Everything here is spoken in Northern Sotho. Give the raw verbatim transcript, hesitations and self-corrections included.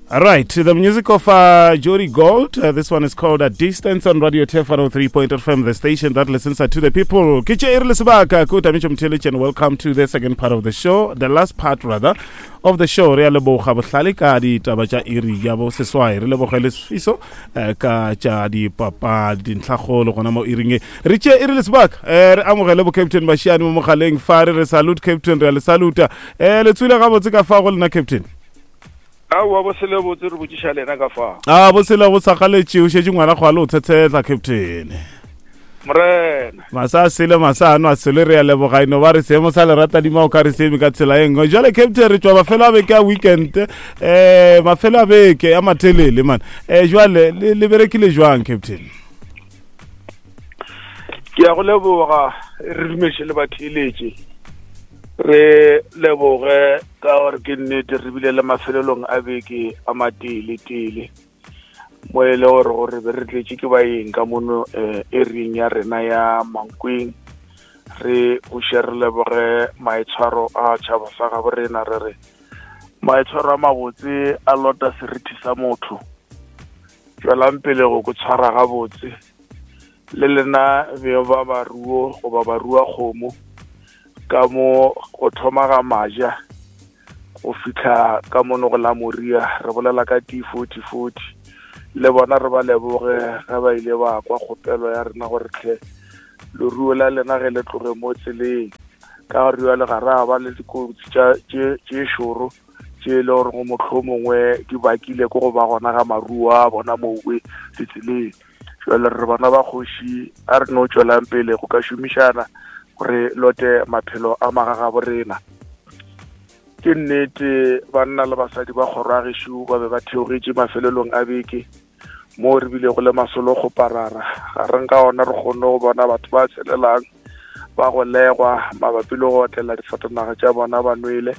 All right, the music of uh, Jody Gold. Uh, this one is called A Distance on Radio Turf one oh three point eight F M, the station that listens to the people. Ke tše e re le sebaka, ko Tamicho Mtheletše, and welcome to the second part of the show, the last part rather of the show. Re a leboga bohlale ka ditaba tša iri ya bo seswai. Re leboge le Sfiso, eh, ka tša dipapadi, dintlhakgolo gona mo iring e. Re tše e re le sebaka, eh, re amogele bo Captain Mashiane mo mogaleng fa, re re salute Captain, re a le saluta. Eh, le tswile gabotse ka fa go lena Captain? Aowa, bo sele botse, re botšiša lena ka fa. A bo sele go sagaletše, o šetše ngwana go a le o tshetshela Captain. Morena. Masa a sele, masa ano a sele, re a leboga, eno ba re seemo sa lerata dima o ka re seeme ka tsela e nngwe. Jwale Captain, re tšwa mafelo a beke a weekend, eh, mafelo a beke a matelele man. Eh, jwale le, le berekile jwang Captain? Ke a go leboga, re dumeše le batheeletše. Re leboge ka gore ke nnete re bile le mafelelong a beke a matele-tele, mo e le gore gore be re tletše ke baeng ka mono, eh, area ya rena ya Mankweng. Re buše re leboge maitshwaro a tšhaba sa gabo rena, re re maitshwaro a mabotse a lota seriti sa motho. Tšwelang pele go ko tshwara gabotse le lena beng ba maruo goba barua kgomo, ka mo go thoma ga maja go fihla ka mono go la Moria, re bolela ka T forty forty. Le bona re ba leboge ge ba ile ba kwa kgopelo ya rena gore tlhe leruo la lena ge le tloge mo tseleng, ka gore jwale ga ra ba le dikotsi tša, tše, tše šoro tše e le gore go mohlomongwe di bakile ke go ba gona ga maruo a bona mowe ditseleng. Jwale re bana ba kgoši, a re no tšwelang pele go ka šomišana gore lote maphelo a magagabo rena. Ke nnete banna le basadi ba kgoro ya gešo ba be ba theogetše mafelelong a beke mo re bile go le masolo go parara. Gareng ka ona re kgonne go bona batho ba tshelelang ba golegwa mabapi le go otlela difatanaga tša bona ba nwele.